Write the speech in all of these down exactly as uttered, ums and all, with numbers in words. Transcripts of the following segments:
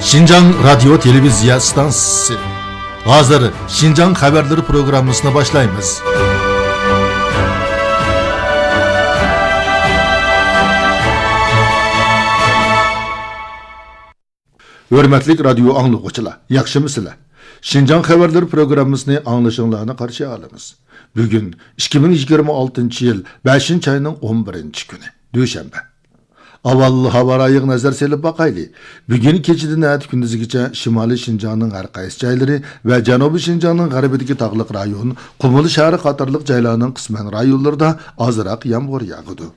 شىنجاڭ رادىيو تېلېۋىزىيە ئىستانسىسى. ھازىر شىنجاڭ خەۋەرلىرى پروگراممىسىنى باشلايمىز. ھۆرمەتلىك رادىيو ئاڭلىغۇچىلار، ياخشىمۇسىلەر؟ شىنجاڭ خەۋەرلىرى پروگراممىسىنى ئاڭلىشىڭلارنى قارشى ئالىمىز. بۈگۈن ئىككى مىڭ يىگىرمە ئالتىنچى يىل بەشىنچى ئاينىڭ ئون بىرىنچى كۈنى، دۈشەنبە. ئاۋۋال ھاۋا رايىغا نەزەر سېلىپ باقايلى. بۈگۈن كېچىدىن ئەتە كۈندۈزگىچە شىمالىي شىنجاڭنىڭ ھەر قايسى جايلىرى ۋە جەنۇبىي شىنجاڭنىڭ غەربىدىكى تاغلىق رايون، قۇمۇل شەھىرى قاتارلىق جايلارنىڭ قىسمەن رايونلىرىدا ئازراق يامغۇر ياغىدۇ.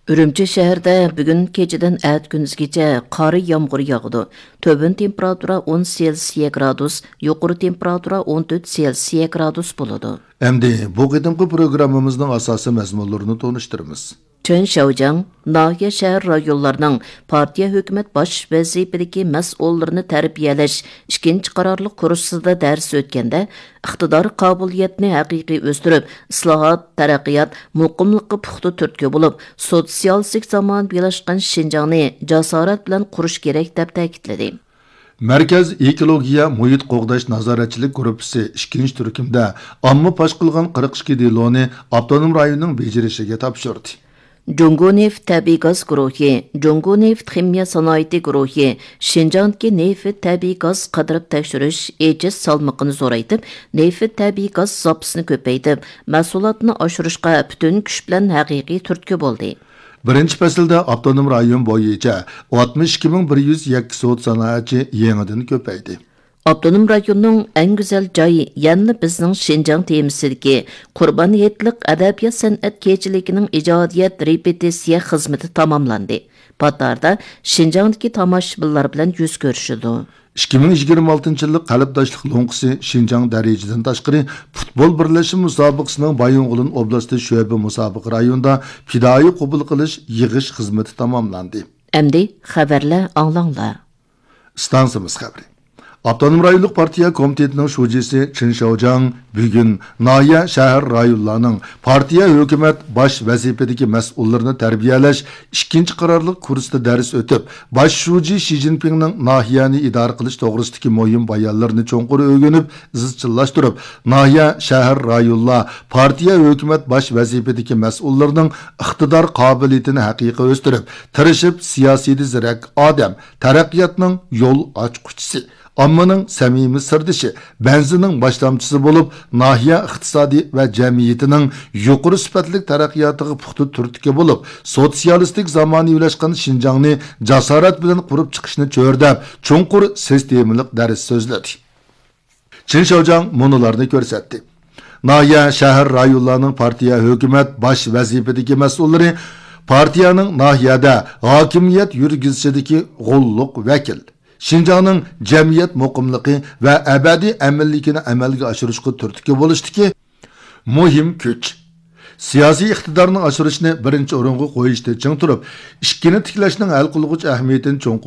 ئۈرۈمچى شەھىرىدە بۈگۈن كېچىدىن ئەتە كۈندۈزگىچە قار يامغۇر ياغىدۇ. تۆۋەن تېمپېراتۇرا ئون سېلسىيە گرادۇس، يۇقىرى تېمپېراتۇرا ئون تۆت سېلسىيە گرادۇس بولىدۇ. ئەمدى بۇ قېتىمقى پروگراممىمىزنىڭ ئاساسىي مەزمۇنلىرىنى تونۇشتۇرىمىز. چېن شياۋجياڭ ناھىيە، شەھەر، رايونلارنىڭ پارتىيە، ھۆكۈمەت باش ۋەزىپىدىكى مەسئۇللىرىنى تەربىيەلەش ئىككىنچى قارارلىق كۇرسىدا دەرس ئۆتكەندە، ئىقتىدار، قابىلىيەتنى ھەقىقىي ئۆستۈرۈپ، ئىسلاھات، تەرەققىيات، مۇقىملىققا پۇختا تۈرتكە بولۇپ، سوتسىيالىستىك زامانىۋىلاشقان شىنجاڭنى جاسارەت بىلەن قۇرۇش كېرەك، دەپ تەكىتلىدى. مەركەز ئېكولوگىيە مۇھىت قوغداش نازارەتچىلىك گۇرۇپپىسى ئىككىنچى تۈركۈمدە ئامما پاش قىلغان قىرىق ئىككى دېلونى ئاپتونوم رايوننىڭ بېجىرىشىگە تاپشۇردى. جۇڭگو نېفىت تەبىئىي گاز گۇرۇھى، جۇڭگو نېفىت خىمىيە سانائىتى گۇرۇھى شىنجاڭدىكى نېفىت تەبىئىي گاز قىدىرىپ تەكشۈرۈش ئېچىش سالمىقىنى زورايتىپ، نېفىت تەبىئىي گاز زاپىسىنى كۆپەيتىپ، مەھسۇلاتنى ئاشۇرۇشقا پۈتۈن كۈچ بىلەن ھەقىقىي تۈرتكە بولدى. بىرىنچى پەسىلدە ئاپتونوم رايون بويىچە ئاتمىش ئىككى مىڭ بىر يۈز يەككە سودا سانائەتچى يېڭىدىن كۆپەيدى. ئاپتونوم رايوننىڭ ئەڭ گۈزەل جايى يەنىلا بىزنىڭ شىنجاڭ تېمىسىدىكى قۇربان ھېيتلىق ئەدەبىيات سەنئەت كېچىلىكىنىڭ ئىجادىيەت رېپېتىتسىيە خىزمىتى تاماملاندى. پات ئارىدا شىنجاڭدىكى تاماشىبىنلار بىلەن يۈز كۆرۈشىدۇ. ئىككى مىڭ يىگىرمە ئالتىنچى يىللىق قەلبداشلىق لوڭقىسى شىنجاڭ دەرىجىدىن تاشقىرى پۇتبول بىرلەشمە مۇسابىقىسىنىڭ بايىنغولىن ئوبلاستى شۆبە مۇسابىقە رايونىدا پىدائىي قوبۇل قىلىش يىغىش خىزمىتى تاماملاندى. ئەمدى خەۋەرلەر ئاڭلاڭلار. ئىستانسىمىز خەۋىرى. ئاپتونوم رايونلۇق پارتىيە كومىتېتىنىڭ شۇجىسى چېن شياۋجياڭ بۈگۈن ناھىيە، شەھەر، رايونلارنىڭ پارتىيە، ھۆكۈمەت باش ۋەزىپىدىكى مەسئۇللىرىنى تەربىيەلەش ئىككىنچى قارارلىق كۇرسىدا دەرس ئۆتۈپ، باش شۇجى شى جىنپىڭنىڭ ناھىيەنى ئىدارە قىلىش توغرىسىدىكى مۇھىم بايانلىرىنى چوڭقۇر ئۆگىنىپ، ئىزچىللاشتۇرۇپ، ناھىيە، شەھەر، رايونلار، پارتىيە، ھۆكۈمەت باش ۋەزىپىدىكى مەسئۇللىرىنىڭ ئىقتىدار قابىلىيىتىنى ھەقىقىي ئۆستۈرۈپ، تىرىشىپ، سىياسىيدە زېرەك ئادەم، تەرەققىياتنىڭ يول ئاچقۇچىسى، ئاممىنىڭ سەمىمىي سىردىشى، بەنزىنىڭ باشلامچىسى بولۇپ، ناھىيە ئىقتىسادى ۋە جەمئىيىتىنىڭ يۇقىرى سۈپەتلىك تەرەققىياتىغا پۇختا تۈرتكە بولۇپ، سوتسىيالىستىك زامانىۋىلاشقان شىنجاڭنى جاسارەت بىلەن قۇرۇپ چىقىشنى چۆرىدەپ، چوڭقۇر سىستېمىلىق دەرس سۆزلىدى. چېن شياۋجياڭ مۇنۇلارنى كۆرسەتتى. ناھىيە، شەھەر، رايونلارنىڭ پارتىيە، ھۆكۈمەت باش ۋەزىپىدىكى مەسئۇللىرى پارتىيەنىڭ ناھىيەدە ھاكىمىيەت يۈرگۈزۈشىدىكى غوللۇق ۋەكىل، شىنجاڭنىڭ جەمئىيەت مۇقىملىقى ۋە ئەبەدىي ئەمىنلىكىنى ئەمەلگە ئاشۇرۇشقا تۈرتكە بولۇشتىكى مۇھىم كۈچ. سىياسىي ئىقتىدارنى ئاشۇرۇشنى بىرىنچى ئورۇنغا قويۇشتا چىڭ تۇرۇپ، ئىككىنى تىكلەشنىڭ ھەل قىلغۇچ ئەھمىيىتىنى چوڭقۇر